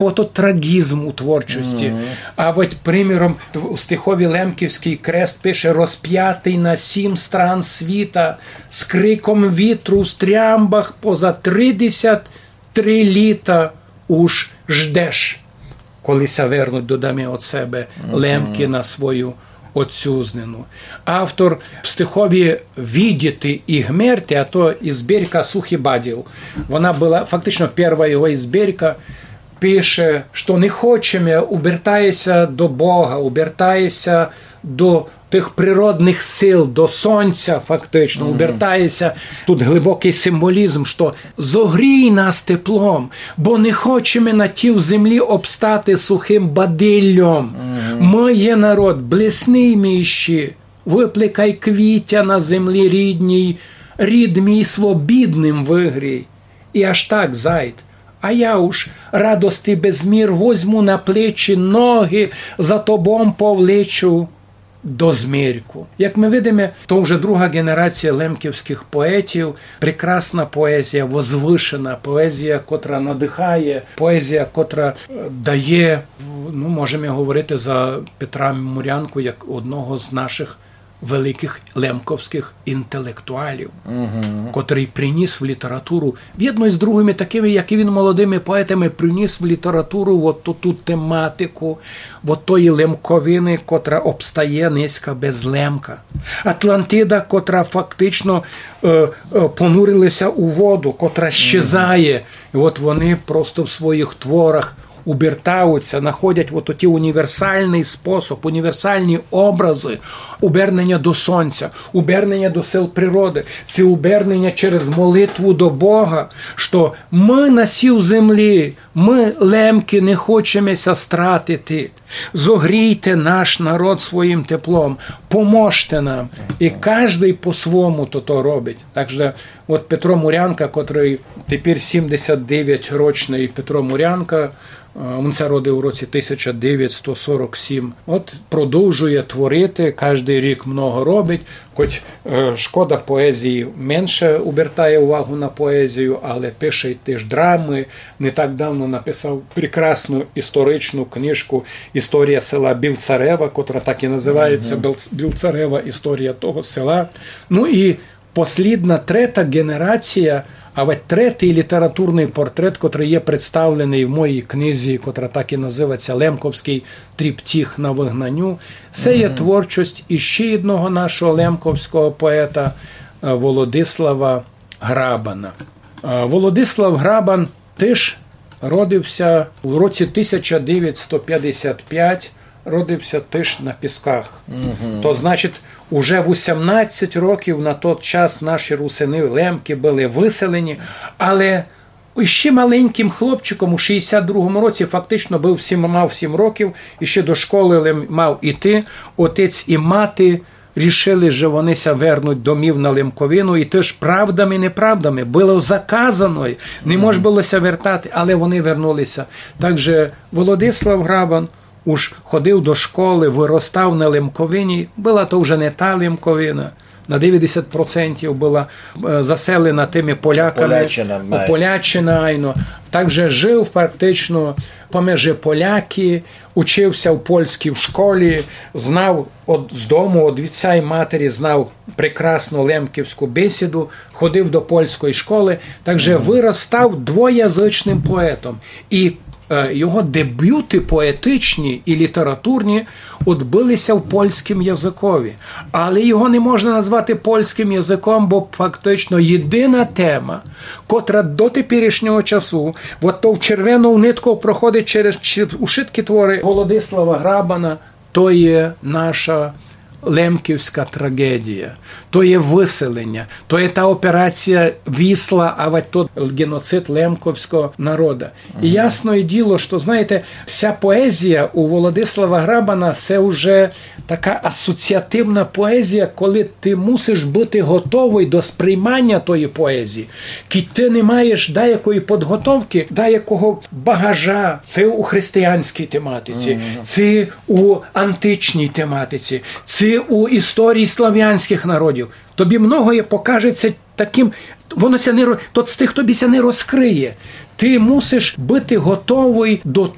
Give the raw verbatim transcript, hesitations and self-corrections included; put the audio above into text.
ото трагізм у творчости. А от, приміром, у стихови «Лемківськый крест» пише: «Розпятый на сім стран світа, з криком вітру в стрямбах поза тридесят три літа уж ждеш, коли ся вернуть додому од себе лемки на свою отцюзнину». Автор в стихови «Видіти і гмерти», а то і збірка «Сухый баділ». Вона была фактично перша його збірка. Пише, што не хочеме, обертаєся до Бога, обертаєся до тых природных сил, до сонця фактично, обертаєся. Тут глибокый символізм, што зогрій нас теплом, бо не хочеме на тій землі обстати сухым бадильом. Мы є народ блісный мій іщи, выплекай квітя на землі рідній, рід мій свобідным выгрій. І аж так, зайд. А я уж радости без мір возьму на плечі ноги, за тобом повлечу до змерку. Як мы видиме, то вже друга ґенерація лемківськых поетів, прекрасна поезія, возвышена поезія, котра надыхає, поезія, котра, е, дає, ну, можеме говорити за Петра Мурянку як одного з нашых великых лемковськых інтелектуалів, котрый приніс в літературу, вєдно з другыми такыми, як і він, молодыми поетами, приніс в літературу от ту, ту тематику, от тої Лемковины, котра обстає нынька без Лемка. Атлантида, котра фактично, е, е, понурилася у воду, котра щезає. І от вони просто в своїх творах обертаються, находять от оті універсальный способ, універсальні образы, обернення до сонця, обернення до сил природы, це обернення через молитву до Бога, што мы на сій землі, мы лемки не хочеме ся стратити. Зогрійте наш народ своїм теплом, поможте нам. І каждый по-свому то, то робить. Так же от Петро Мурянка, котрый тепер сімдесят девять рочный Петро Мурянка, е, він ся родив у році тисяча девятсто сорок сім. От продовжує творити, каждый рік много робить, хоть, е, шкода, поезії менше обертає увагу на поезію, але пише й теж драмы. Не так давно написав прекрасну історичну книжку «Історія села Білцарева», котра так і називається, Білц-, «Білцарева. Історія того села». Ну і послідна, трета ґенерація, а вать третій літературный портрет, котрый є представленый в моїй книзі, котра так і називається «Лемковськый триптих на выгнаню», се є творчость іщи одного нашого лемковського поета, е, Володислава Грабана. Е, Володислав Грабан теж родився у році тисяча девятсто пятдесят пять, родився теж на Пісках. То значить, уже вісімнадцять років на тот час наші русины, лемки, были выселені, але іщи маленькым хлопчиком у шістдесят другому році, фактично быв сім, мав сім років, іщи до школы лем мав іти, отець і мати рішили, же вони ся вернуть домів на Лемковину, і теж правдами, неправдами, было заказано, не мож было ся вертати, але вони вернулися. Так же Володислав Грабан уж ходив до школы, выростав на Лемковині, была то вже не та Лемковина, на девятдесят процентів была, е, заселена тыми поляками. Поляччина, май. Поляччина, айно. Так же жив фактично помежи поляки, учив ся в польській школі, знав од, з дому, од отця й матері знав прекрасну лемківську бесіду, ходив до польської школы, так же выростав двоязычным поетом. І, е, його дебюты поетичні і літературні одбыли ся в польськім языкові. Але його не можна назвати польськім языком, бо фактично єдина тема, котра до теперішнього часу, от то в червену нитку проходить через чи-, ушыткі творы Володислава Грабана, то є наша лемківська трагедія, то є выселеня, то є та операція Вісла, а вать тот ґеноцид лемковського народа. І ясне діло, што, знаєте, ся поезія у Володислава Грабана, се вже така асоціативна поезія, коли ты мусиш быти готовый до сприйманя тої поезії, кідь ты не маєш даякої підготовкы, даякого багажа, ци у християнській тематиці, ци у античній тематиці, ци у історії славянськых народів. Тобі многоє покажеться таким, воно ся не ро-, тот стих тобі ся не розкриє. Ты мусиш быти готовый до